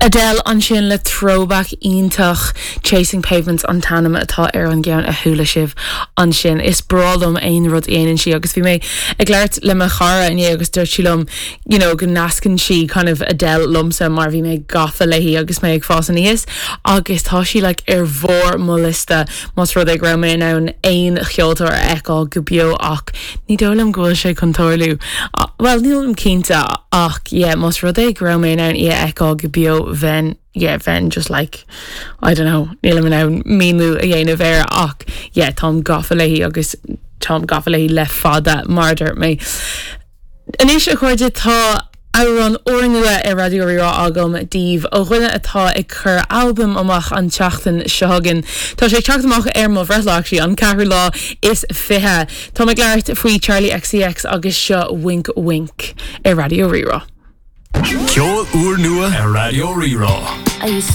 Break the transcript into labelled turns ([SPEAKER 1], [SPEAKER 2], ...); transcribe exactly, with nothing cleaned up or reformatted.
[SPEAKER 1] Adele ansin le throwback iontach Chasing Pavements an t-ainm atá ar an gceann a chuala sibh ansin is breá liom aon rud a dhéanann sí agus bhí mé ag labhairt le mo chara inné agus dúirt sí liom you know, go nascann sí kind of Adele liomsa mar bhí mé gafa léi agus mé ag fás aníos agus tá sí like, ar bharr mo liosta más rud é go raibh mé in ann aon cheoltóir a fheiceáil go beo ach ní dóigh liom go bhfuil sé chun tarlú. Well nílim cinnte ach yeah, más rud é go raibh mé in ann í a fheiceáil go beo bheinn yeah, bheinn just like I don't know nílim in ann míniú a dhéanamh air ach yeah, táim gafa léi agus táim gafa léi le fada mar dúirt mé. Anois a chairde tá amhrán úrnua ar Raidió Rí-Rá agam daoibh ó dhuine atá ag cur albam amach an tseachtain seo chugainn. Tá sé teacht amach ar mo bhreithlá an ceathrú lá is fiche. Tá ag labhairt faoi Charli XCX agus seo Wink Wink ar Raidió Rí-Rá.
[SPEAKER 2] Ceol úrnua ar Raidió Rí-Rá.
[SPEAKER 3] I used to